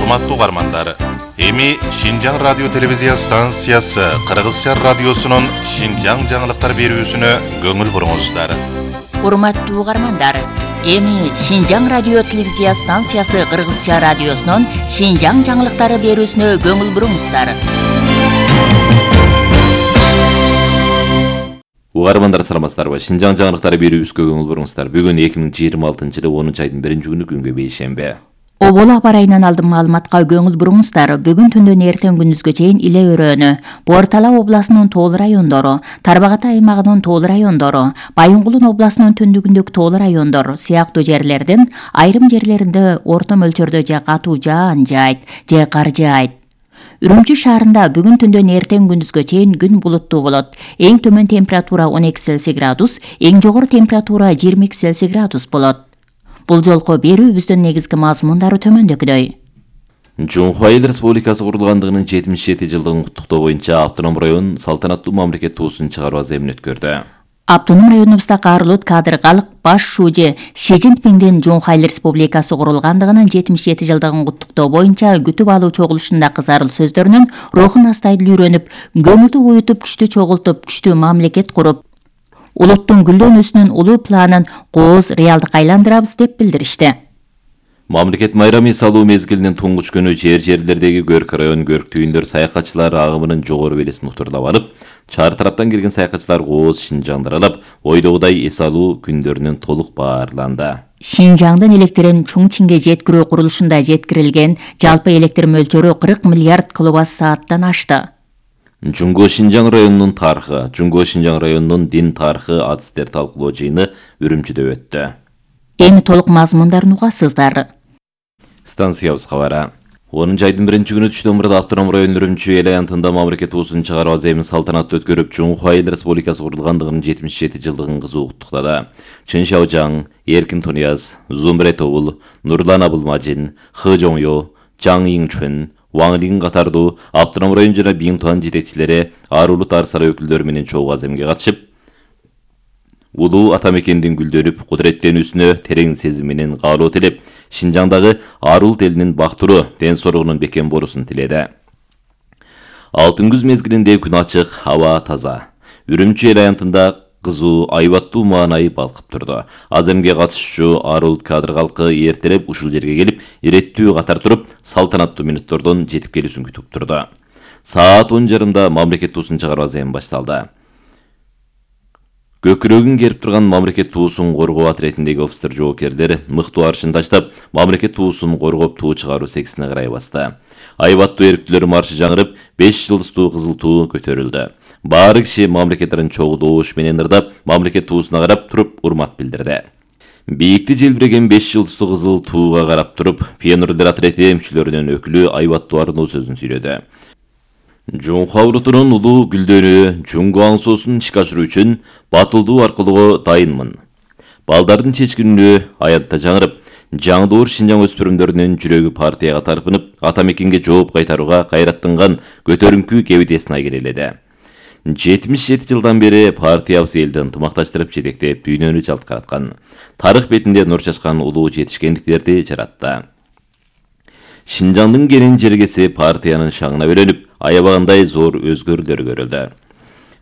Урматтуу угармандар, эми Шинжаң радио телевизия станциясы Кыргызча радиосунун Шинжаң жаңылыктар берүүсүнө көңүл буруңуздар. Урматтуу угармандар, эми Шинжаң радио телевизия станциясы Кыргызча радиосунун Шинжаң жаңылыктары берүүсүнө көңүл буруңуздар. Угармандар саламатсыздарбы? Шинжаң жаңылыктары берүүбүзгө көңүл буруңуздар. Бүгүн 2026-жылы 10-айдын 1-күнү күнгө бейшемби. Обол аба райынан алдын маалыматка көңүл буруңуздар. Бүгүн түндөн эртең күндүзгө чейин Иле өрөөнү, Бор-Тала областынын тоол райондору, Тарбагата аймагынын тоол райондору, Байынгулун областынын түндүгүндөгү тоол райондор сыяктуу жерлердин айрым жерлеринде орто мөлчөрдө же катуу жаан жаайт, же кар жаайт. Үрүмчү шаарында бүгүн түндөн эртең күндүзгө чейин күн булуттуу болот. Эң төмөн температура 12 Цельсий градус, эң жогору температура 22 Цельсий градус болот. Бул жолку берүүбүздүн негизги мазмундары төмөндөгүдөй. Жумху Айыл Республикасы курулгандыгынын 77 жылдыгын куттуктоо боюнча Автоном район салтанаттуу мамлекет туусун чыгаруу аземин өткөрдү. Автоном районубузда Каарулут Кадыр Калык баш шуужи Ши Цзиньпиндин Жумху Айыл Республикасы курулгандыгынын 77 жылдыгын куттуктоо боюнча күтүп алуу чогулушунда кызарыл сөздөрүнүн рухун астайдыл үйрөнүп, көңүлдү уютуп, күчтү чогултуп, күчтүү мамлекет куруп, улуттун гүлдөнүүсүнүн улуу планын кооз реалдыкка айландырабыз деп билдиришти. Мамлекет майрамы салуу мезгилинин туңгуч күнү жерлердеги Көрк район Көрк түйүндөр саякатчылар агымынын жогору белесин утурлап алып, чаар тараптан келген саякатчылар кооз Шинжаңды аралап, ойдогудай эс алуу күндөрүнөн толук баарланды. Шинжаңдын электрин Чуңчинге жеткирүү курулушунда жеткирилген жалпы электр мөлчөрү 40 миллиард киловатт-сааттан ашты. Жуңго Шинжаң районунун тарыхы, Жуңго Шинжаң районунун дин тарыхы адистер талкуулоо жыйыны Үрүмчүдө өттү. Эми толук мазмундарын угасыздар. Станциябыз кабары. 10-айдын 1-күнү түштөн мурда Автоном район Үрүмчү эл аянтында мамлекет туусун чыгаруу аземин салтанаттуу өткөрүп, Жумху Айыл Республикасы курулгандыгынын 77 жылдыгын кызуу куттуктады. Чын Шаожаң, Эркин Тунияз, Зумбре Тобул, Нурлан Абылмажин, Хы Жоңё, Жаң Иңчүн, Ваң Лин катардуу Автоном район жана Биңтуан жетекчилери Арулут Арсара өкүлдөрү менен чогуу аземге катышып, улуу ата мекендин гүлдөнүп, кудуреттенүүсүнө терең сезим менен каалоо тилеп, Шинжаңдагы Арулут элинин бактыруу, ден соолугунун бекем болуусун тиледи. Алтын күз мезгилинде күн ачык, аба таза. Үрүмчү эл аянтында кызуу, айбаттуу маанайы балкып турду. Аземге катышуучу Арулут Кадыр калкы эртелеп ушул жерге келип, иреттүү катар туруп, салтанаттуу мүнөттөрдөн жетип келүүсүн күтүп турду. Саат 10:30 мамлекет туусун чыгаруу аземи башталды. Көкүрөгүн керип турган мамлекет туусун коргоо отрядындагы офицер жоокерлер мыктуу аршын таштап, мамлекет туусун коргоп туу чыгаруу сексине карай басты. Айбаттуу эрктүүлөр маршы жаңырып, 5 жылдыстуу кызыл туу көтөрүлдү. Баары киши мамлекеттерин чогуу добуш менен ырдап, мамлекет туусуна карап туруп урмат билдирди. Бийикти желбиреген 5 жылдыстуу кызыл тууга карап туруп, пионерлер отряды мүчөлөрүнүн өкүлү айбаттуу арноо сөзүн сүйлөдү. Жумху Аврутунун улуу гүлдөнүү, Жуңго аңсоосун ишке ашыруу үчүн батылдуу аркылуу дайынмын. Балдардын чечкинүү аянтта жаңырып, жаңдоор Шинжаң өспүрүмдөрүнүн жүрөгү партияга тарпынып, ата мекенге жооп кайтарууга кайраттанган көтөрүңкү кебитесин айгереледи. 77 жылдан бери партиябыз элди ынтымакташтырып жетектеп, дүйнөнү жалткараткан. Тарых бетинде нур чачкан улуу жетишкендиктерди жаратты. Шинжаңдын кенин жергеси партиянын шаңына бөлөнүп, аябагандай зор өзгөрүүлөр көрүлдү.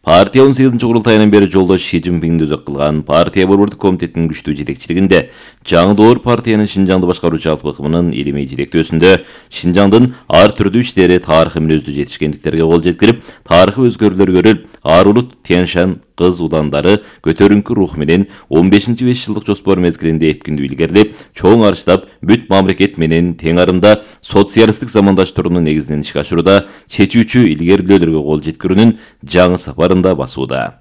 Партия 18-курултайынан бери жолдош Ши Цзиньпинди өзөк кылган партия борбордук комитетинин күчтүү жетекчилигинде жаңдоор партиянын Шинжаңды башкаруучу жалпы ыкмынын илимий жетектөөсүндө Шинжаңдын ар түрдүү иштери тарыхый мүнөздүү жетишкендиктерге кол жеткирип, тарыхый өзгөрүүлөр көрүлүп, Арулут Тяньшан кыз удандары көтөрүңкү рух менен 15-5 жылдык жоспор мезгилинде эпкиндүү илгерилеп, чоң арыштап, бүт мамлекет менен тең арымда социалисттик замандаштыруунун негизинен ишке ашырууда чечүүчү илгерилөөлөргө кол жеткирүүнүн жаңы сапарында басууда.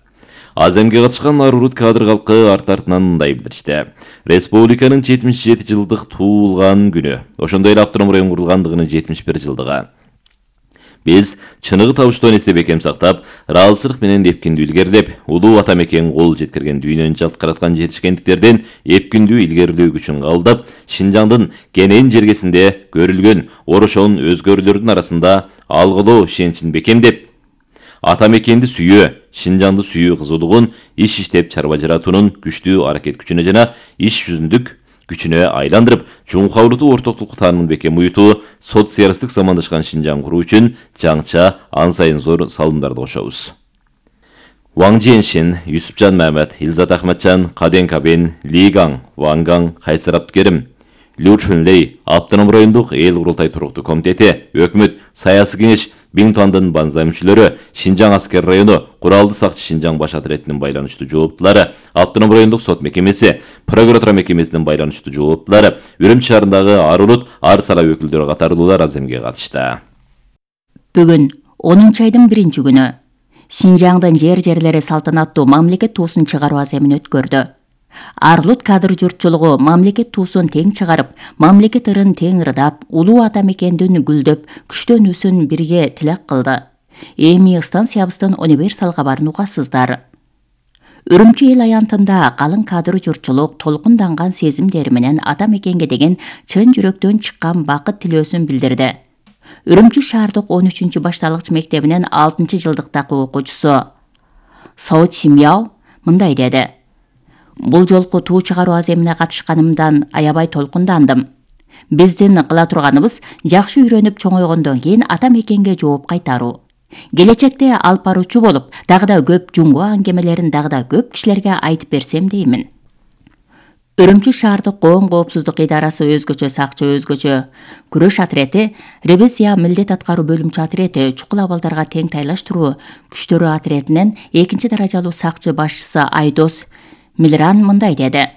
Аземге катышкан Арулут Кадыр калкы арт-артынан мындай билдиришти. Республиканын 77 жылдык туулган күнү, ошондой эле Автоном район курулгандыгынын 71 жылдыгы. Биз чыныгы табыштон эсте бекем сактап, ыраазычылык менен эпкиндүү илгерилеп, улуу ата мекен кол жеткирген дүйнөнү жалткараткан жетишкендиктерден эпкиндүү илгерилөө күчүн кабылдап, Шинжаңдын кенен жергесинде көрүлгөн орошон өзгөрүүлөрдүн арасында алгылоо ишеничин бекемдеп, ата мекенди сүйүү, Шинжаңды сүйүү кызуулугун иш иштеп чарба жаратуунун күчтүү аракет күчүнө жана иш жүзүндүк күчүнө айландырып, жумхабырды ортоктук таанымын бекем уютуу, социалисттик замандашкан Шинжаң куруу үчүн жаңча ан сайын зор салымдарды кошобуз. Ван Женшин, Юсупжан Мамед, Илзат Ахматжан, Каден Кабен, Ли Гаң, Ван Гаң, Кайсар Абдыкерим, Лю Чунлей, Автоном райондук эл курултай туруктуу комитети, өкмөт, саясий кеңеш, Биң Туандын банза мүчөлөрү, Шинжаң аскер району, Куралды сакчы Шинжаң баш отрядынын байланыштуу жооптулары, Автоном райондук сот мекемеси, прокуратура мекемесинин байланыштуу жооптулары, Үрүмчү шаарындагы ар улут, ар сара өкүлдөрү катарлуулар аземге катышты. Бүгүн 10 айдын 1-күнү Шинжаңдын жерлери салтанаттуу мамлекет туусун чыгаруу аземин өткөрдү. Арлут кадр журтчулугу мамлекет туусун тең чыгарып, мамлекет ырын тең ырдап, улуу ата мекендин гүлдөп, күчтөнүүсүн бирге тилек кылды. Эми станциябыздын универсал кабарын угасыздар. Үрүмчү эл аянтында калың кадр журтчулук толкунданган сезимдери менен ата мекенге деген чын жүрөктөн чыккан бакыт тилөөсүн билдирди. Үрүмчү шаардык 13 башталгыч мектебинин 6 жылдыктагы окуучусу Соо Чимяо мындай деди. Бул жолку туу чыгаруу аземине катышканымдан аябай толкундандым. Биздин кыла турганыбыз жакшы үйрөнүп чоңойгондон кийин ата мекенге жооп кайтаруу. Келечекте алып баруучу болуп, дагы да көп жумгу аңгемелерин дагы да көп кишилерге айтып берсем деймин. Үрүмчү шаардык коом коопсуздук идарасы өзгөчө сакчы өзгөчө күрөш отрети, ревизия милдет аткаруу бөлүмчү отрети, чукул абалдарга тең тайлаштыруу күчтөрү отретинен 2 даражалуу сакчы башчысы Айдос Милран мындай деди.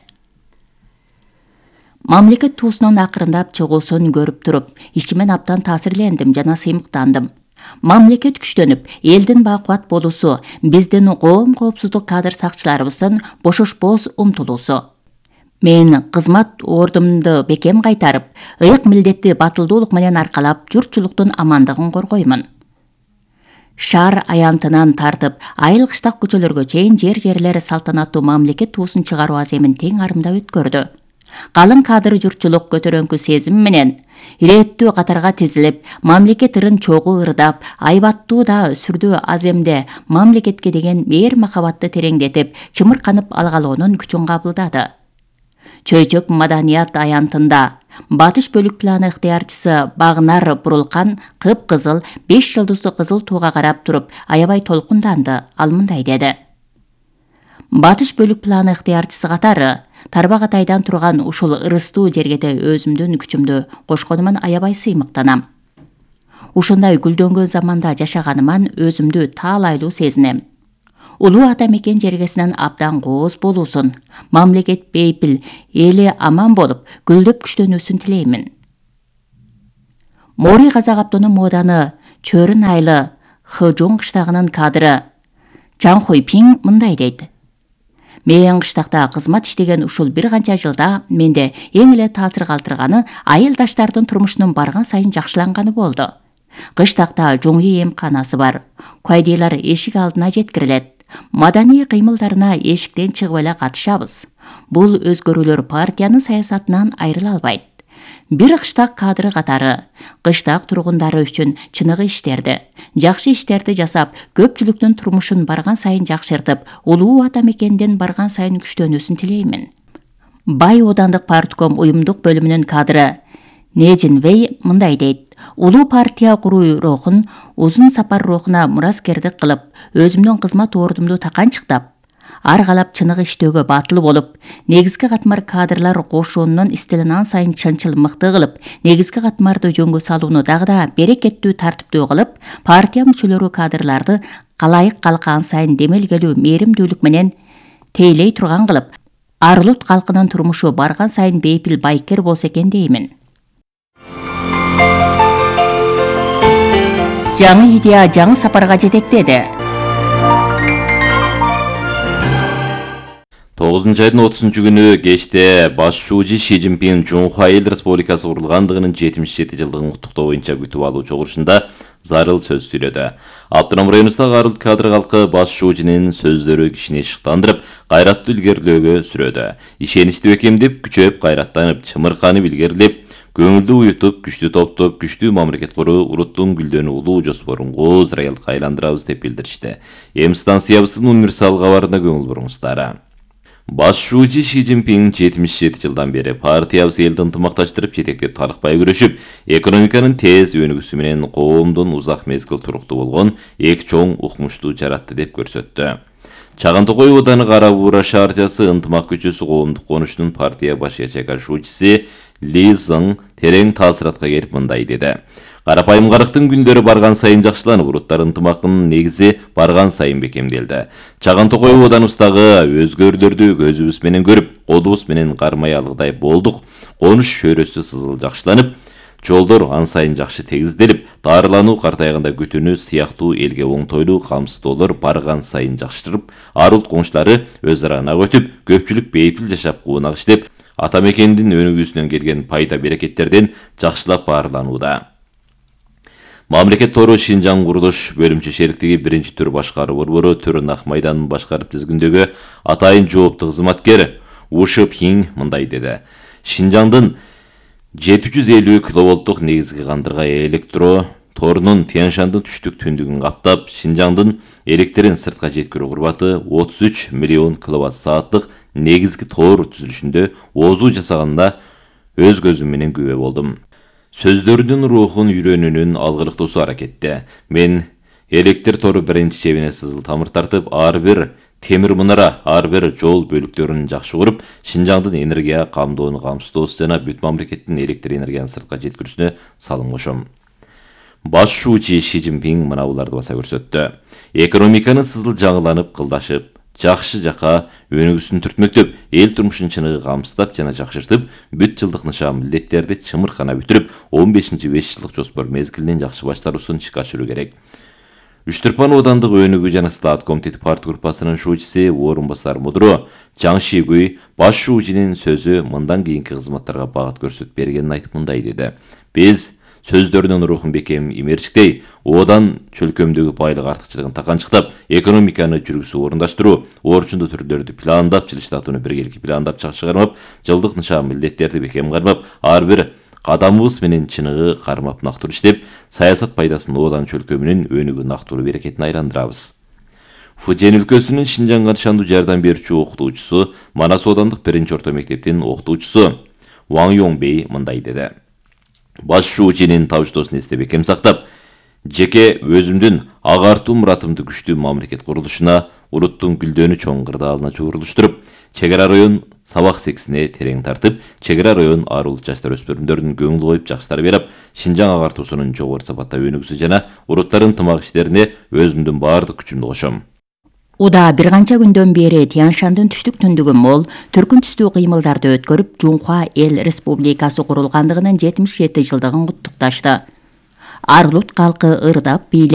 Мамлекет туусунун акырындап чыгуусун көрүп туруп, ичимен аптан таасирлендим жана сыймыктандым. Мамлекет күчтөнүп, элдин бакубат болуусу, биздин коом коопсуздук кадр сакчыларыбыздын бошошпоос умтулуусу. Мен кызмат ордумду бекем кайтарып, ыйык милдетти батылдуулук менен аркалап, журтчулуктун амандыгын коргоймун. Шаар аянтынан тартып, айыл кыштак көчөлөргө чейин жерлери салтанаттуу мамлекет туусун чыгаруу аземин тең арымда өткөрдү. Калың кадр журтчулук көтөрөңкү сезим менен ирээттүү катарга тизилип, мамлекет ырын чогуу ырдап, айбаттуу да сүрдүү аземде мамлекетке деген мээр махабатты тереңдетип, чымырканып алгалоонун күчүн кабылдады. Чөйчөк маданият аянтында Батыш бөлүк планы ыктыярчысы Багнар Бурулкан кып-кызыл 5 жылдызды кызыл тууга карап туруп, аябай толкунданды. Ал мындай деди. Батыш бөлүк планы ыктыярчысы катары Тарбагатайдан турган ушул ырыстуу жергеде өзүмдүн күчүмдү кошконуман аябай сыймыктанам. Ушундай гүлдөнгөн заманда жашаганыман өзүмдү таалайлуу сезинем. Улуу ата мекен жергесинен абдан кооз болуусун, мамлекет бейпил, эли аман болуп, гүлдөп күчтөнүүсүн тилеймин. Мори Казак Аптоном мооданы Чөрүн айлы Хыжун кыштагынын кадры Чан Хойпин мындай дейт. Мен кыштакта кызмат иштеген ушул бир канча жылда менде эң эле таасир калтырганы айылдаштардын турмушунун барган сайын жакшыланганы болду. Кыштакта жоңүй эмканасы бар. Куайдыйлар эшик алдына жеткирилет. Маданий кыймылдарына эшиктен чыгып эле катышабыз. Бул өзгөрүүлөр партиянын саясатынан айрыла албайт. Бир кыштак кадры катары кыштак тургундары үчүн чыныгы иштерди, жакшы иштерди жасап, көпчүлүктүн турмушун барган сайын жакшыртып, улуу ата мекенден барган сайын күчтөнүүсүн тилеймин. Бай Оодандык партком уюмдук бөлүмүнүн кадры Нежин Вей мындай дейт. Улуу партия куруу рухун, узун сапар рухуна мураскердик кылып, өзүмдүн кызмат ордумду таканчыктап, аргалап чыныгы иштөөгө батыл болуп, негизги катмар кадрлар кошуунун стилин ан сайын чынчыл мыкты кылып, негизги катмарды жөнгө салууну дагы да берекеттүү тартиптүү кылып, партия мүчөлөрү кадрларды калайык калка ан сайын демелгелүү мээримдүүлүк менен тейлей турган кылып, ар улут калкынын турмушу барган сайын бейпил байкер болсо экен деймин. Жаңы идея жаңы сапарга жетектеди. 9 айдын 30 күнү кечте баш шуужи Ши Цзиньпин Жунхва Эл Республикасы курулгандыгынын 77 жылдыгын куттуктоо боюнча күтүп алуу чогулушунда зарыл сөз сүйлөдү. Автоном районундагы ар улут кадр калкы баш шуужинин сөздөрү кишини шыктандырып, кайраттуу илгерилөөгө сүрөдү. Ишеничти бекемдеп, күчөп, кайраттанып, чымырканып илгерилеп, көңүлдү уютуп, күчтүү топтоп, күчтүү мамлекет куруу, улуттун гүлдөнүү улуу жоспорун кооз райылыкка айландырабыз деп билдиришти. Эми станциябыздын универсал кабарына көңүл буруңуздар. Башчуучу Ши Цзиньпин 77 жылдан бери партиябыз элди ынтымакташтырып жетектеп талыкпай күрөшүп, экономиканын тез өнүгүүсү менен коомдун узак мезгил туруктуу болгон эки чоң укмушту жаратты деп көрсөттү. Чаган Токой Ооданы Кара Буура шаарчасы ынтымак көчөсү коомдук конуштун партия баш ячейкашуучусу Ли Зың терең таасиратка келип мындай деди. Карапайымгарыктын күндөрү барган сайын жакшыланып, уруттар ынтымагынын негизи барган сайын бекемделди. Чаган Токой Ooданыбыздагы өзгөрүүлөрдү көзүбүз менен көрүп, колубуз менен кармай алгыдай болдук. Конуш чөйрөсү сызыл жакшыланып, жолдор ан сайын жакшы тегизделип, дарылануу, картайганда күтүүнү сыяктуу элге оңтойлуу камсыздоолор барган сайын жакшырып, ар улт коңшулары өз ара ынак өтүп, көпчүлүк бейпил жашап куунак иштеп, ата мекендин өнүгүүсүнөн келген пайда берекеттерден жакшылап баарланууда. Мамлекет тору Шинжаң курулуш бөлүмчө шериктиги 1-түр башкаруу борбору Төрүн Ак майданын башкарып тизгиндөгү атайын жооптуу кызматкер Ушы Пин мындай деди. Шинжаңдын 750 киловолттук негизги кандырга электро торунун Тянь-Шандын түштүк түндүгүн каптап, Шинжаңдын электрин сыртка жеткирүү курбаты 33 миллион киловатт сааттык негизги тор түзүлүшүндө оозуу жасаганына өз көзүм менен күбө болдум. Сөздөрүнүн рухун үйрөнүүнүн алгырыктоосу аракетте. Мен электр тору биринчи чебине сызыл тамыр тартып, ар бир темир мунара, ар бир жол бөлүктөрүн жакшы уруп, Шинжаңдын энергия камдоону камсыздоосу жана бүт мамлекеттин электр энергияны сыртка жеткирүүсүнө салым кошом. Башчуучу Ши Цзиньпин мына буларды баса көрсөттү. Экономиканы сызыл жаңыланып, кылдашып, жакшы жака өнүгүүсүн түртмөктөп, эл турмушун чыныгы камсыздап жана жакшыртып, бүт жылдык нышан милдеттерди чымыркана бүтүрүп, 15-5 жылдык жоспор мезгилинен жакшы баштаруусун ишке ашыруу керек. Үчтүрпан Оодандык өнүгүү жана стат комитети парт группасынын шуучусу орун басар мудро Жаң Шигуй башчуучунун сөзү мындан кийинки кызматтарга багыт көрсөтүп бергенин айтып мындай деди. Биз сөздөрүнүн рухун бекем имерчиктей, Оодан чөлкөмдөгү байлык артыкчылыгын таканчыктап, экономиканы жүргүзүү орундаштыруу, орчундуу түрлөрдү пландап, жылыштатууну биргеликти пландап чыгармап, жылдык нышан милдеттерди бекем кармап, ар бир кадамыбыз менен чыныгы кармап нактуу иштеп, саясат пайдасын Оодан чөлкөмүнүн өнүгүү нактуу берекетине айландырабыз. Фужен өлкөсүнүн Шинжаңга ышандуу жардам берүүчү окутуучусу, Манас Оодандык 1-орто мектептин окутуучусу Ваң Йоңбей мындай деди. Башчуучунун табыштоосун эсте бекем сактап, жеке өзүмдүн агартуу муратымды күчтүү мамлекет курулушуна, уруттун гүлдөнүү чоң кырдаалына чогурулуштуруп, чек ара район сабак сексине терең тартып, чек ара район ар улут жаштар өспүрүмдөрүнүн көңүл коюп жакшы тарбиялап, Шинжаң агартуусунун жогору сапатта өнүгүүсү жана уруттардын ынтымак иштерине өзүмдүн баардык күчүмдү кошом. Уда бир канча күндөн бери Тянь-Шандын түштүк түндүгү мол, түркүн түстүү кыймылдарды өткөрүп, Жунхуа эл республикасы курулгандыгынын 77 жылдыгын куттукташты. Ар улут калкы ырдап, бийлеп,